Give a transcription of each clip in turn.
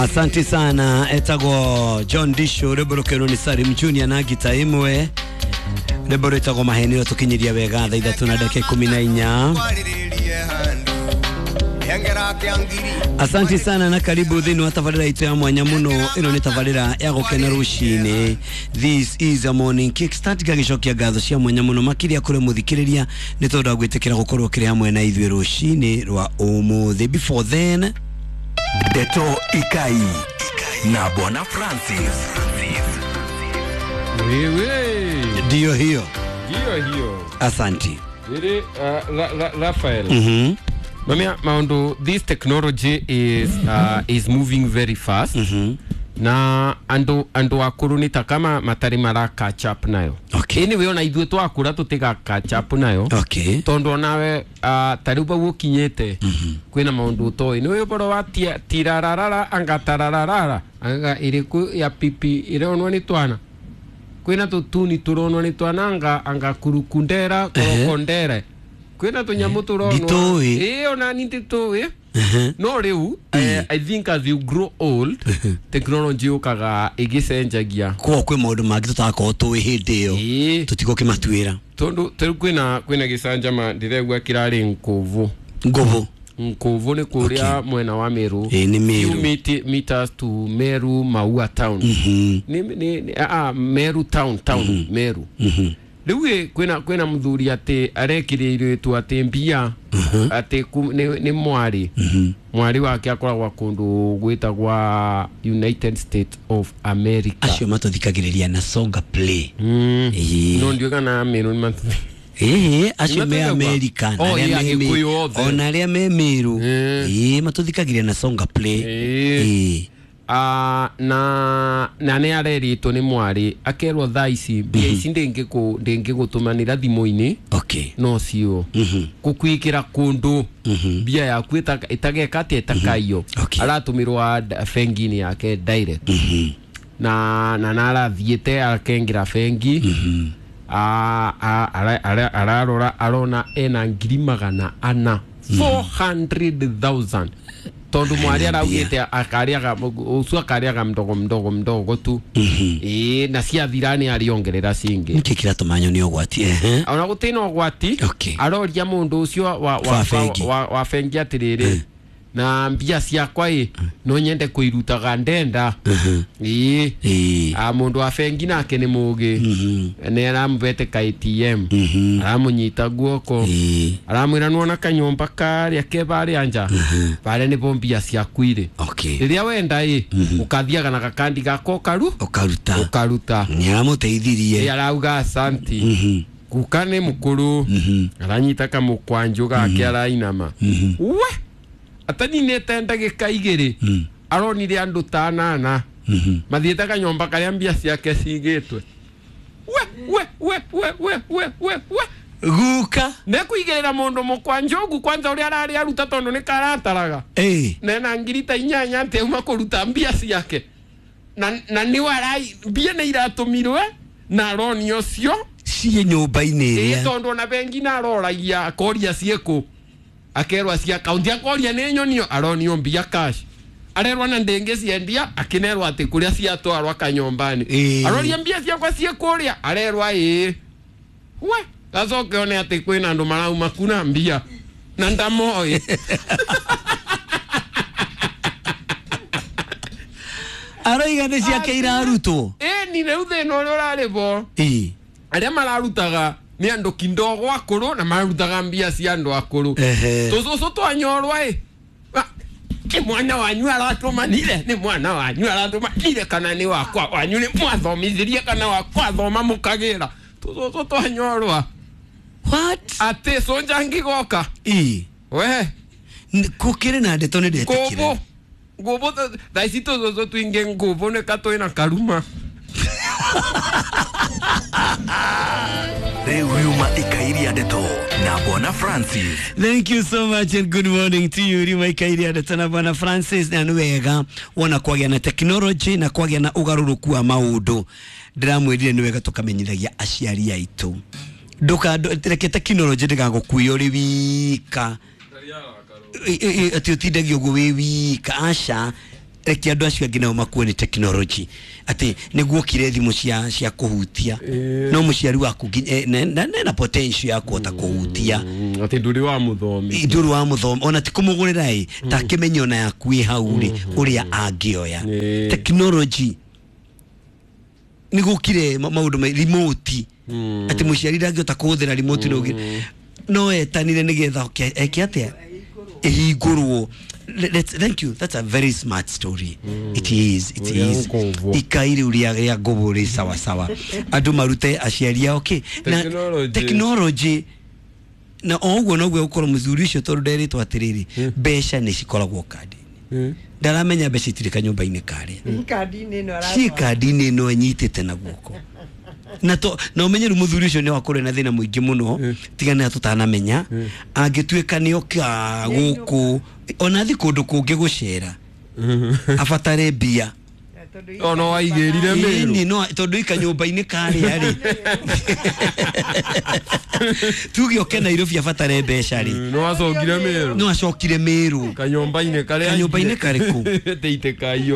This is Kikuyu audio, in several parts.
Asante sana etagwo John Disho rwimbo rukirwo ni Salim Junior na ngita imwe rwimbo rwitagwo mahenio tukinyiria wega thaa ithatũ na dakika 14. Asante sana na karibu thini wa tabarĩra itũ ya mwanya muno. Ĩno nĩ tabarĩra ya gũkena rũcinĩ. This is a morning kickstart. Gagĩcokia ngatho cia mwanya muno makĩria kũrĩ mũthikĩrĩria nĩ tondũ wa gwĩtĩkĩra gũkorwo kĩrĩ hamwe na ithuĩ rũcinĩ rwa ũmũthĩ. Before then, Ndeto Ikai na Bwana Francis. Wewe. Ndio hiyo. Ndio hiyo. Asante. Ili Rafael. Mamia maundu, this technology is moving very fast. Na andu akuru ni ta kama matari mara catch up nayo. Okay. Anyway, ona ithuĩ twakũra tũtiga catch up nayo. Okay. Tondu onawe ta rĩu bau ũkinyĩte kwĩna maũndũ ũtoĩ. Nĩ ũhoro wa tirararara anga tarararara anga ĩrĩkũ ya pipi ĩronwo nĩ twana. Kwĩna tũtuni tũronwo nĩ twana anga kurukundera korokondere. Kwĩna tũnyamũ tũronwo. Nditũĩ. Ĩĩ ona ni nditũĩ. No rĩu I think as you grow old technology yũkaga ĩgĩcenjagia. Kwa kwĩ maũndũ mangĩ tũtagakorwo tũĩ hĩndĩ ĩyo. Ĩĩ. Tũtigũkĩmatuĩra. Tondu rĩu kwĩna gĩcanjama ndĩregua kĩrarĩ Nkovu. Ngovu. Nkovu nĩ kũrĩa mwena wa Meru. Ĩĩ nĩ Meru. Few meters to Meru Maua town. Nĩ Meru town Meru. Rĩu kwĩna mũthuri atĩ arekĩrĩirĩtwo atĩ mbia atĩ nĩ mwarĩ. Mwarĩ wake akoragwo kũndũ gwĩtagwa United States of America. Acio matũthikagĩrĩria na Songa Play. No ndiũĩ kana Meru nĩ Ĩĩ acio me America na arĩa me ona arĩa me Meru. Ĩĩ matũthikagĩrĩria na Songa Play. Ĩĩ. Na nĩ arerĩtwo nĩ mwarĩ akerwo thaa ici mbia ici ndĩngĩgũtũmanĩra thimũ-inĩ. Okay. No cio gũkwĩkĩra kũndũ mbia yaku ĩtageka atĩa ĩtakaiyo. Aratũmĩrwo bengi-inĩ yake direct. Na arathiĩte akengĩra bengi. Ararora arona ena 400,000 400,000. Tondu mwari araugite akariaga ucio akariaga mdogo mdogo mdogo tu. Ĩĩ na ciathira nĩ ariongerera cingĩ. Nĩkĩ kĩratũma nyone ũgwati? Ona gũtirĩ na ũgwati. Aroria mũndũ ũcio wa bengi atĩrĩrĩ na mbia ciakwa ĩ no nyende kũirutaga ndenda. Ĩĩ mũndũ wa bengi nake nĩ mũgĩ. Nĩ aramũbete ka ATM. Aramũnyita guoko. Aramwĩra nĩwona kanyũmba karĩa ke barĩa nja. Barĩa nĩbo mbia ciaku irĩ. Rĩrĩa wenda ĩ ũkathiaga na gakandi gaka ũkaruta. Ũkaruta. Nĩ aramũteithirie. Ĩ arauga asanti. Guka nĩ mũkũrũ. Aranyita kamũkwanjũ gake arainama. We ataninete ndagĩka igĩrĩ aronire andũ ta anana mathiĩte kanyũmba karĩa mbia ciake cigĩtwe. We we we we we we we we guka nĩkũigĩrĩra mũndũ mũkwanjũ kwanza ũrĩa ararĩ aruta tondũ nĩ karataraga. Nena ngiri ta inyanya atĩ auma kũruta mbia ciake na nĩwe arai mbia nĩ iratũmirwe na aronio ũcio ciĩ nyũmba-inĩ ĩrĩa tondũ ona bengi naroragia akoria ciĩkũ akerwa cia akaunti akoria nĩ nyonio aronio mbia cash arerwa na ndĩngĩ ciendia akĩnerwo atĩ kũrĩa ciatwarwa kanyũmba-inĩ aroria mbia ciakwa ciĩ kũrĩa arerwa ĩĩ we gacoke one atĩ kwĩna andũ marauma kuna mbia na ndamoĩ. Aroiga nĩ ciake irarutwo. Ĩĩ ni rĩu thĩna ũrĩa ũrarĩ bo arĩa mararutaga nĩ andũ kindogo akũrũ na marutaga mbia cia andũ akũrũ. Tũcũcũ twanyorwa ĩ nĩ mwana wanyu aratũmanire nĩ mwana wanyu aratũmanire kana nĩ wakwa wanyu nĩ mwathomithirie kana wakwa thoma mũkagĩra tũcũcũ twanyorwa. What? Atĩ cũnja ngĩgoka. We kũkĩrĩ na ndeto nĩ ndetĩkire. Ngũbũ thaa ici tũcũcũ tũingĩ ngũbũ nĩ ka twĩna karuma. Riuma Ikairia Ndeto na Bwana Francis. Thank you so much and good morning to you. Riuma Ikairia Ndeto na Bwana Francis. Na nĩ wega wona kwagĩa na technology na kwagĩa na ũgarũrũku wa maũndũ. Ndĩramwĩrire nĩ wega tũkamenyithagia aciari aitũ. Ndũkareke technology ndĩgagũkuie ũrĩ wika. Atĩ ũtindagio ũguo wĩ wika. Aca. Reke andũ acio angĩ nao makuo nĩ technology atĩ nĩguo kire thimũ cia kũhutia no mũciari waku na potential ya kũhota kũhutia atĩ ndũrĩ wa mũthomi, ndũrĩ wa mũthomi ona ti kũmũgũrĩra ĩ ta kĩmenyo na yaku ĩ hau rĩ ũrĩa angĩoya technology nĩgũkire maũndũ ma remote atĩ mũciari ndangĩhota kũhũthĩra remote no etanire nĩgetha eke atĩa ĩhingũrwo. Thank you, that's a very smart story. It is ikai rĩu rĩa ngũbũ rĩ sawa sawa andũ marute aciari ao okay na technology na o ũguo noguo gũkorwo mũthuri ũcio tondũ nderĩtwo atĩrĩrĩ mbeca nĩ cikoragwo kandi-inĩ ndaramenya mbeca itirĩ kanyũmba-inĩ karĩa ciĩ kandi-inĩ ĩno anyitĩte na guoko na to na umenye rĩu mũthuri ũcio nĩ wakorwo na thĩna mũingĩ mũno tiga nĩ tũtanamenya angĩtuĩka nĩ oka gũkũ ona thi kũndũ kũngĩ gũcera abatare mbia ono waigĩrire mĩrũ no tondũ ika nyũmba-inĩ karĩa rĩ tuge oke Nairobi abatare mbeca rĩ no acokire mĩrũ no acokire mĩrũ kanyũmba-inĩ karĩa kanyũmba-inĩ karĩkũ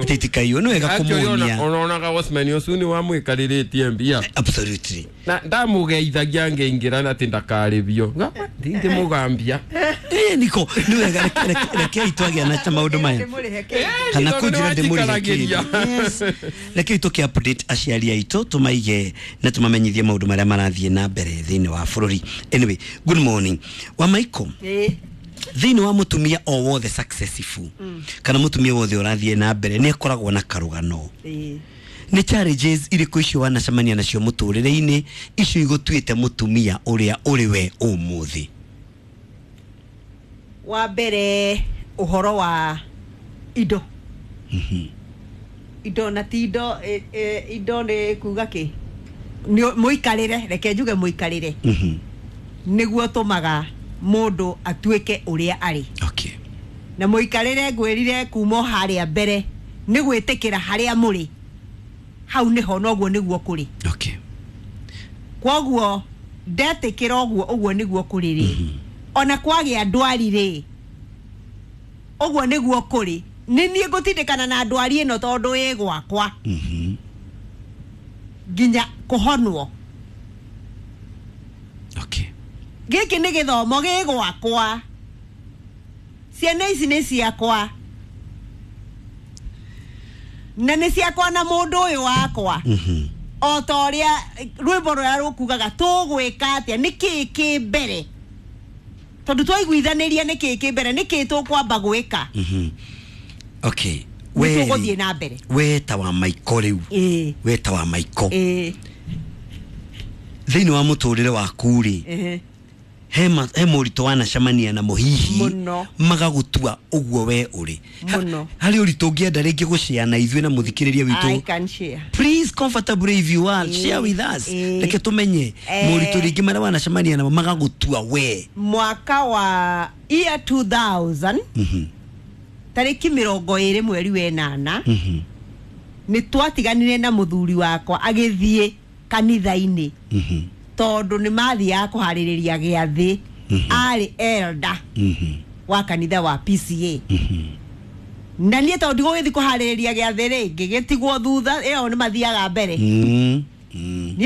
teitĩkaiyo nĩ wega kũmuonia ononaga watchman ũcio nĩ wamwĩkarĩrĩtie mbia absolutely na ndamũgeithagia ngĩingĩra atĩ ndakarĩbio ndingĩmũgambia niko nĩ wega rekei twagĩa na maũndũ maya kana kũnjĩra ndĩmũrĩhe kĩndũ. Rekei tũkĩ update aciari aitũ tũmaige na tũmamenyithie maũndũ marĩa marathiĩ na mbere thĩinĩ wa bũrũri. Anyway, good morning wa Michael. Thĩinĩ wa mũtumia o wothe successful kana mũtumia wothe ũrathiĩ na mbere nĩ akoragwo na karũgano. Nĩ challenges irĩkũ icio wanacemania nacio mũtũrĩre-inĩ icio igũtuĩte mũtumia ũrĩa ũrĩ we ũmũthĩ? Wa mbere ũhoro wa indo indo na ti indo indo nĩ kuga kĩ mũikarĩre reke njuge mũikarĩre nĩguo tũmaga mũndũ atuĩke ũrĩa arĩ. Okay. Na mũikarĩre ngwĩrire kuma harĩa mbere nĩ gwĩtĩkĩra harĩa mũrĩ hau nĩho noguo nĩguo kũrĩ. Okay. Kwoguo ndetĩkĩra ũguo ũguo nĩguo kũrĩ rĩ ona kwagĩa ndwari rĩ ũguo nĩguo kũrĩ nĩ niĩ ngũtindĩkana na ndwari ĩno tondũ ĩ gwakwa nginya kũhonwo. Okay. Gĩkĩ nĩ gĩthomo gĩ gwakwa ciana ici nĩ ciakwa na nĩ ciakwa na mũndũ ũyũ wakwa o ta ũrĩa rwĩmbo rũrĩa rũkugaga tũgwĩka atĩa nĩ kĩĩ kĩ mbere tondũ twaiguithanĩria nĩ kĩĩ kĩ mbere nĩ kĩĩ tũkwamba gwĩka. Okay. We tũgũthiĩ na mbere we ta wa Michael rĩu we ta wa Michael thĩinĩ wa mũtũrĩre waku rĩ he mũritũ wanacemania namo hihi magagũtua ũguo we ũrĩ harĩ ũritũ ũngĩenda rĩngĩ gũshare na ithuĩ na mũthikĩrĩria witũ. I can share. Please comfortably if you are share with us reke tũmenye mũritũ rĩngĩ marĩa wanacemania namo magagũtua we. Mwaka wa year 2000 tarĩki 20 mweri wa 8 nĩ twatiganire na mũthuri wakwa agĩthiĩ kanitha-inĩ tondũ nĩ mathiaga kũharĩrĩria gĩathĩ arĩ elder wa kanitha wa PCA na niĩ tondũ ndigũgĩthiĩ kũharĩrĩria gĩathĩ rĩ ngĩgĩtigwo thutha ĩyo nĩ mathiaga mbere niĩ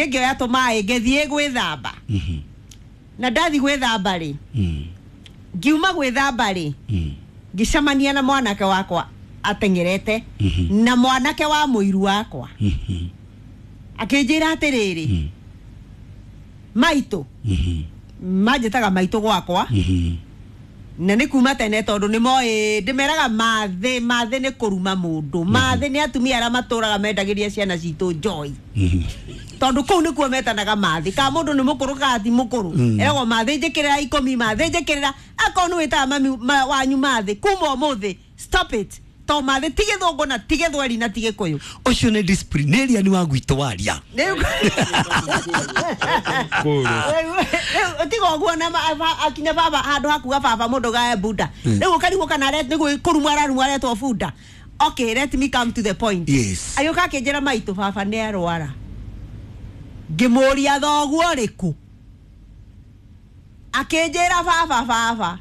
ngĩoya tũmaĩ ngĩthiĩ gwĩthamba na ndathiĩ gwĩthamba rĩ ngiuma gwĩthamba rĩ ngĩcemania na mwanake wakwa ateng'erete na mwanake wa mũiru wakwa akĩnjĩra atĩrĩrĩ maitũ manjĩtaga maitũ gwakwa na nĩ kuma tene tondũ nĩ moĩ ndĩmeraga mathĩ mathĩ nĩ kũruma mũndũ mathĩ nĩ atumia arĩa matũraga mendagĩria ciana citũ joy tondũ kũu nĩkuo metanaga mathĩ ka mũndũ nĩ mũkũrũ kana ti mũkũrũ eragwo mathĩ njĩkĩrĩra 10 mathĩ njĩkĩrĩra akorwo nĩ wĩtaga mami wanyu mathĩ kuma ũmũthĩ stop it to mathĩ ti gĩthũngũ na ti gĩthweri na ti gĩkũyũ ũcio nĩ disciplinarian wa gwitũ waria tiga ũguo na akinya baba handũ hakuga baba mũndũ gae bunda rĩu ũkarigwo kana nĩ kũrumwo ararumwo aretwo bunda. Okay, let me come to the point. Yes. Agĩũka akĩnjĩra maitũ baba nĩ arwara ngĩmũria thoguo ũrĩkũ akĩnjĩra baba baba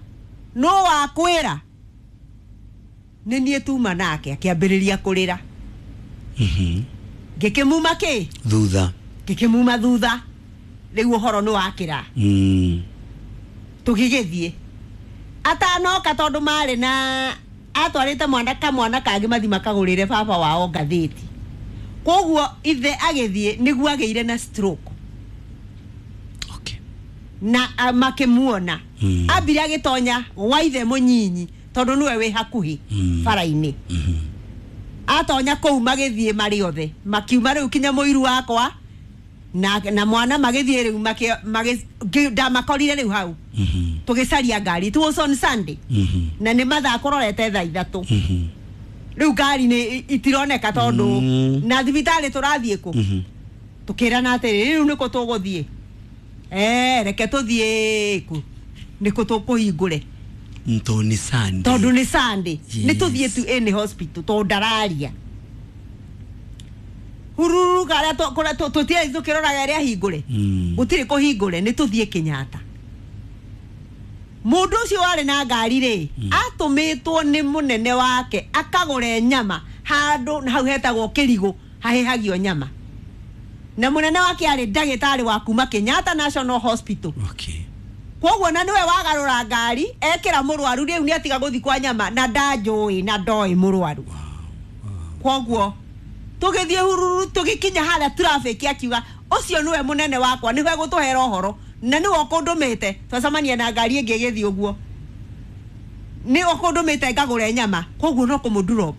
nũ wakwĩra Nĩ niĩ tuma nake akĩambĩrĩria kũrĩra. Ngĩkĩmuma kĩ? Thutha. Ngĩkĩmuma thutha. Rĩu ũhoro nĩ wakĩra. Tũgĩgĩthiĩ. Atanoka tondũ marĩ na atwarĩte mwana kamwana kangĩ mathi makagũrĩre baba wao ngathĩti. Koguo ithe agĩthiĩ nĩguo agĩire na stroke. Okay. Na makĩmuona. Ambire agĩtonya gwa ithe mũnyinyi tondũ nĩwe wĩ hakuhĩ bara-inĩ. Atonya kũu magĩthiĩ marĩ othe. Makiuma rĩu kinya mũiru wakwa na mwana magĩthiĩ rĩu ndamakorire rĩu hau. Tũgĩcaria ngari. It was on Sunday. Na nĩ mathaa kũrorete thaa 3. Rĩu ngari nĩ itironeka tondũ na thibitarĩ tũrathiĩ kũ. Tũkĩrana atĩrĩ rĩu nĩkũ tũgũthiĩ. Reke tũthiĩ kũ. Nĩkũ tũkũhingũre. Tondũ nĩ Sunday. Tondũ nĩ Sunday. Nĩ tũthiĩ tu any hospital tondũ ndararia. Hururu karĩa tũtiarĩ tũkĩroraga ĩrĩa hingũre. Gũtirĩ kũhingũre nĩ tũthiĩ Kenyatta. Mũndũ ũcio warĩ na ngari rĩ, atũmĩtwo nĩ mũnene wake akagũre nyama handũ hau hetagwo Kĩrigũ hahĩhagio nyama. Na mũnene wake arĩ ndagĩtarĩ wa kuma Kenyatta National Hospital. Okay. Koguo na niwe wagarũra ngari ekĩra mũrwaru rĩu nĩ atiga gũthiĩ kwa nyama na ndanjũĩ na ndoĩ mũrwaru. Koguo tũgĩthiĩ hururu tũgĩkinya harĩa traffic akiuga ũcio nĩwe mũnene wakwa nĩwe gũtũhera ũhoro na nĩwe ũkũndũmĩte twacemania na ngari ĩngĩ ĩgĩthiĩ ũguo nĩ ũkũndũmĩte ngagũre nyama koguo no kũmũ-drop.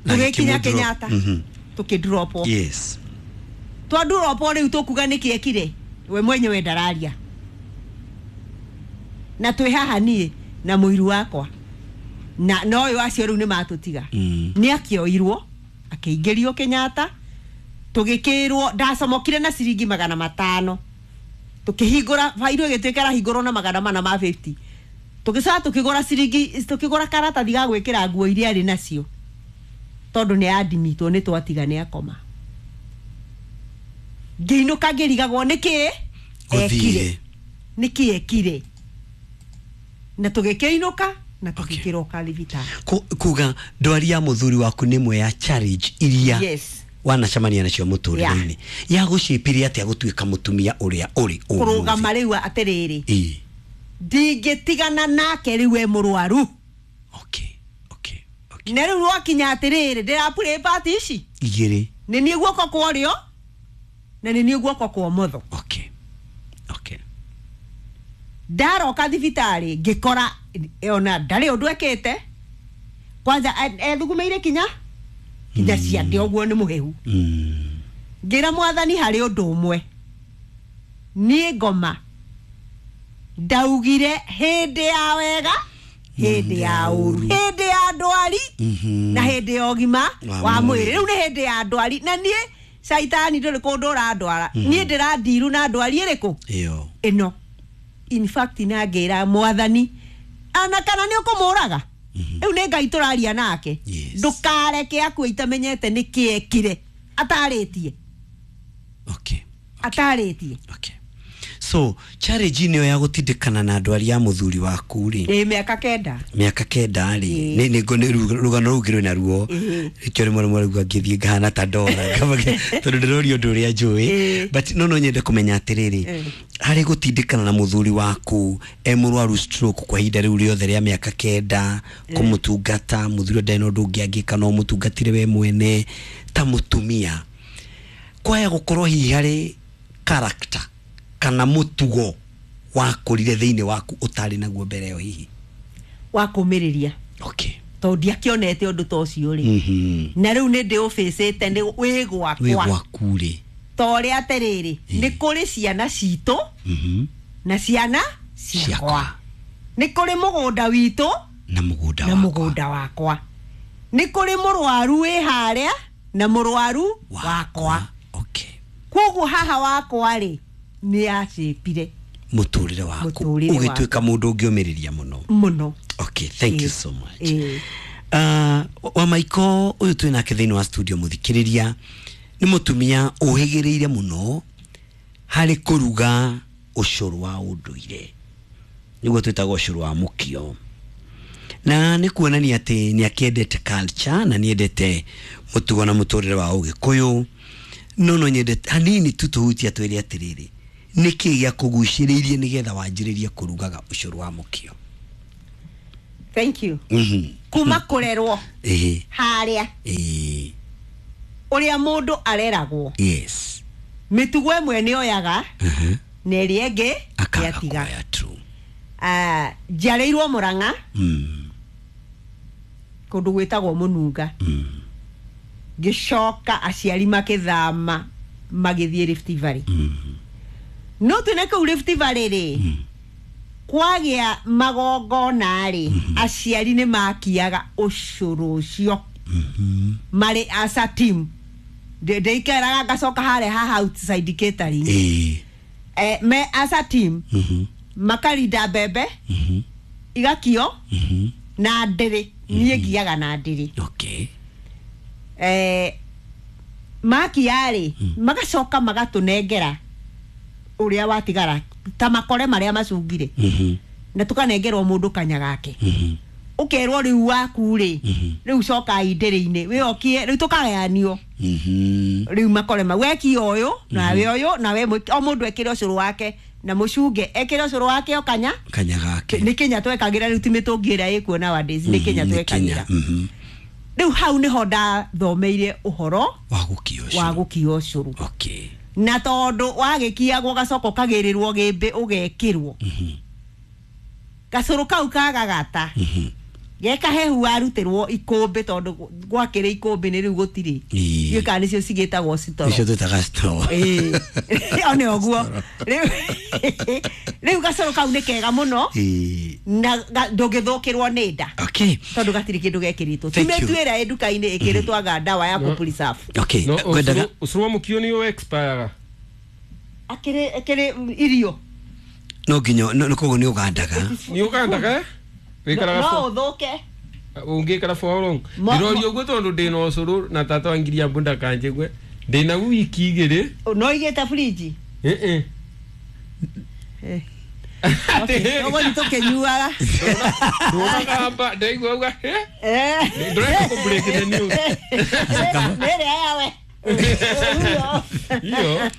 Tũgĩkinya Kenyatta tũkĩ-dropwo. Yes. Twa-dropwo rĩu tũkuga nĩkĩ ekire we mwenyewe ndararia. Na twĩ haha niĩ na mũiru wakwa na no ũyũ acio rĩu nĩ matũtiga. Nĩ akĩoirwo akĩingĩrio Kenyatta tũgĩkĩrwo ndacomokire na ciringi 500 tũkĩhingũra bairũ ĩgĩtuĩka ĩrahingũrwo na 450 tũgĩcoka tũkĩgũra ciringi tũkĩgũra karatathi ga gwĩkĩra nguo iria arĩ nacio tondũ nĩ andimitwo nĩ twatiga nĩ akoma. Ngĩinũka ngĩrigagwo nĩkĩ ekire nĩkĩ ekire na tũgĩkĩinũka na tũgĩkĩroka thibitarĩ. Kuga ndwari ya mũthuri waku nĩ ĩmwe ya challenge iria wanacemania nacio mũtũrĩre-inĩ ya gũcĩpirie atĩa gũtuĩka mũtumia ũrĩa ũrĩ ũmũthĩ. Kũrũgama rĩu atĩrĩrĩ ndingĩtigana nake rĩu e mũrwaru. Okay. Okay. Okay. Na rĩu rwakinya atĩrĩrĩ ndĩrapurĩ pati ici igĩrĩ nĩ niĩ guoko kwa ũrĩo na nĩ niĩ guoko kwa ũmotho. Okay. Okay. Ndaroka thibitarĩ ngĩkora ona ndarĩ ũndũ ekĩte kwanza ethugumeire kinya ciande ũguo nĩ mũhehu. Ngĩra mwathani harĩ ũndũ ũmwe niĩ ngoma ndaugire hĩndĩ ya wega hĩndĩ ya ũru hĩndĩ ya ndwari na hĩndĩ ya ũgima wa mwĩrĩ. Rĩu nĩ hĩndĩ ya ndwari na niĩ caitani ndũrĩ kũndũ ũrandwara niĩ ndĩrandiru na ndwari ĩrĩkũ ĩno. In fact na ngĩra mwathani ana kana nĩ ũkũmũraga rĩu nĩ Ngai tũraria nake ndũkareke akue itamenyete nĩkĩ ekire atarĩtie. Okay. Atarĩtie. Okay. So challenge nĩyo ya gũtindĩkana na ndwari ya mũthuri waku rĩ mĩaka 9 mĩaka 9 rĩ nĩ rũgano rũu ngĩrĩ naruo rĩkĩo rĩmwe rĩmwe rĩu ngĩthiĩ ngahana ta ndora tondũ ndĩrorio ũndũ ũrĩa njũĩ but no nyende kũmenya atĩrĩrĩ harĩ gũtindĩkana na mũthuri waku e mũrwaru stroke kwa ihinda rĩu rĩothe rĩa mĩaka 9 kũmũtungata mũthuri ndarĩ na ũndũ ũngĩ angĩka no mũtungatire we mwene ta mũtumia kwaya gũkorwo hihi harĩ character kana mutugo wakũrire thĩinĩ waku ũtarĩ naguo mbere ĩyo hihi wa kũmĩrĩria. Okay. Tondũ ndiakĩonete ũndũ ta ũcio rĩ na rĩu nĩ ndĩũbĩcĩte nĩ wĩ gwakwa wĩ gwaku rĩ ta ũrĩa atĩrĩrĩ nĩ kũrĩ ciana citũ na ciana ciakwa nĩ kũrĩ mũgũnda witũ na mũgũnda wakwa nĩ kũrĩ mũrwaru wĩ harĩa na mũrwaru wakwa. Okay. Koguo haha wakwa rĩ nĩ acĩpire mũtũrĩre waku ũgĩtuĩka mũndũ ũngĩũmĩrĩria mũno mũno. Okay, thank you so much. Wa Maiko ũyũ twĩ nake thĩinĩ wa studio mũthikĩrĩria nĩ mũtumia ũhĩgĩrĩire mũno harĩ kũruga ũcũrũ wa ũndũire nĩguo twĩtaga ũcũrũ wa mũkio Na nĩ kuonania atĩ nĩ akĩendete culture na nĩ endete mũtugo na mũtũrĩre wa Ũgĩkũyũ. No nyende hanini tu tũhutie twĩre atĩrĩrĩ, nĩkĩ gĩa kũgucĩrĩirie nĩgetha wanjĩrĩrie kũrugaga ũcũrũ wa mũkio? Thank you. Kuma kũrerwo Ĩhĩ. harĩa Ĩĩ. ũrĩa mũndũ areragwo, Yes. mĩtugo ĩmwe nĩ oyaga na ĩrĩa ĩngĩ Akaga nĩatiga. kuoya, true. Ah, njiarĩirwo Mũrang'a, kũndũ gwĩtagwo Mũnunga. Ngĩcoka aciari makĩthama magĩthiĩ Rift Valley. No twĩna kũu Rift Valley rĩ, kwagĩa magongona rĩ, aciari nĩ makiaga ũcũrũ ũcio marĩ as a team. Ndĩikaraga ngacoka harĩa haha outside catering. Ĩĩ. Me as a team makarinda mbembe igakio na ndĩrĩ. Niĩ ngiaga na ndĩrĩ. Okay. Makia rĩ, magacoka magatũnengera ũrĩa watigara ta makore marĩa macungire, na tũkanengerwo mũndũ kanya gake. Ũkerwo rĩu waku rĩ, rĩu cokai ndĩrĩ-inĩ wĩokie, rĩu tũkagayanio. Rĩu makore mau wekia ũyũ nawe ũyũ nawe o mũndũ ekĩre ũcũrũ wake na mũcunge ekĩre ũcũrũ wake o kanya. Kanya gake. Nĩ kĩnya twekagĩra rĩu, ti mĩtũngi ĩrĩa ĩkuo nowadays, nĩ kĩnya Nĩ twekagĩra. Kenya. Rĩu hau nĩho ndathomeire ũhoro wa gũkia ũcũrũ. Wa gũkia ũcũrũ. Okay. Na tondũ wagĩkiagwo gacoka ũkagĩrĩrwo gĩmbĩ ũgekĩrwo gacũrũ kau kagagata gekahehu, warutĩrwo ikũmbĩ, tondũ gwakĩrĩ ikũmbĩ nĩ rĩu gũtirĩ. Ĩĩ. Ndiũĩ kana nĩcio cigĩtagwo citoro. Icio twĩtaga straw. Ĩĩ. One ũguo rĩu gacũrũ kau nĩ kega mũno. Ĩĩ. Na ndũngĩthũkĩrwo nĩ nda, Okay. tondũ gatirĩ kĩndũ gekĩrĩtwo. Ti Thank you. mĩtu ĩrĩa ĩ nduka-inĩ ĩkĩrĩtwo anga ndawa ya kũ-preserve. Okay. No Ngwendaga ũcũrũ wa mũkio nĩ ũ expire. Akĩrĩ irio. No nginya no koguo nĩ ũgandaga. Nĩ ũgandaga, eh? Wĩkaraga No for ũthũke. Ũngĩkara for how long? Mo- Ndĩroria ũguo tondũ ndĩna ũcũrũ na tata wa ngiria mbu ndakanjĩgue ndĩna wiki igĩrĩ. No igĩte fridge. Ĩĩ. Ũguo nĩ tũkĩnyuaga. Ndũnagamba ndaigua uga ndũreka kũ break the news. Nĩrĩa yawe. Iyo.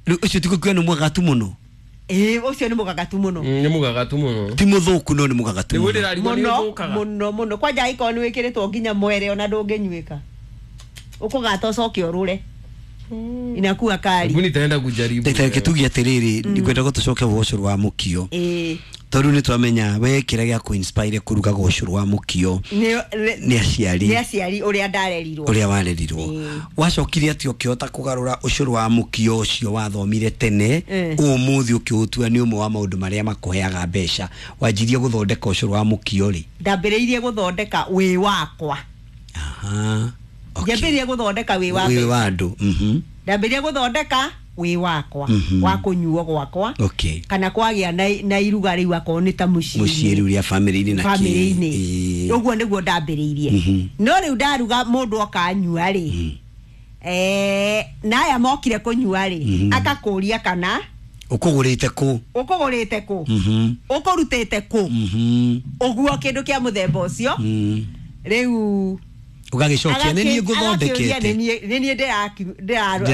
Rĩu ũcio ti gũkiuga nĩ mwagatu mũno. Ĩĩ, ũcio nĩ mũgagatu mũno. Nĩ mũgagatu mũno. Ti mũthũku no nĩ mũgagatu Nĩguo mũno. ndĩrarigwo nĩ Mũno ũthũkaga. mũno mũno, kwanja angĩkorwo nĩ wĩkĩrĩtwo nginya mwere, ona ndũngĩnyuĩka, ũkũgata ũcoke ũrũre, inakuwa kari. Hebu nitaenda kujaribu. Ndagĩtarĩ, kĩtugie atĩrĩrĩ, ngwenda gũtũcoke gwa ũcũrũ wa mũkio, Ĩĩ. tondũ nĩ twamenya we kĩrĩa gĩa kũ-inspire kũrugaga ũcũrũ wa mũkio nĩ aciari. Nĩ aciari, ũrĩa ndarerirwo. Ũrĩa warerirwo. Ĩĩ. Wacokire atĩ ũkĩhota kũgarũra ũcũrũ wa mũkio ũcio wathomire tene, ũmũthĩ ũkĩũtua nĩ ũmwe wa maũndũ marĩa makũheaga mbeca? Wanjirie gũthondeka ũcũrũ wa mũkio rĩ? Ndambĩrĩirie gũthondeka wĩ wakwa. Aha. Okay. Njambĩrĩirie gũthondeka wĩ wa Wĩ wa andũ. Ndambĩrĩirie gũthondeka wĩ wakwa, wa kũnyuo gwakwa, kana kwagĩa na iruga rĩu, akorwo nĩ ta mũciĩ mũciĩ, rĩu rĩa famĩlĩ-inĩ na kĩ. bamĩrĩ-inĩ. Ĩĩ. Ũguo nĩguo ndambĩrĩirie. No rĩu ndaruga, mũndũ oka anyua rĩ, na aya mokire kũnyua rĩ, akakũria kana Ũkũgũrĩte kũ? Ũkũgũrĩte kũ? Ũkũrutĩte kũ? Ũguo kĩndũ kĩa mũthemba ũcio. Rĩu Ũgagĩcokia nĩ niĩ agakĩũria ngũthondekete. nĩ niĩ.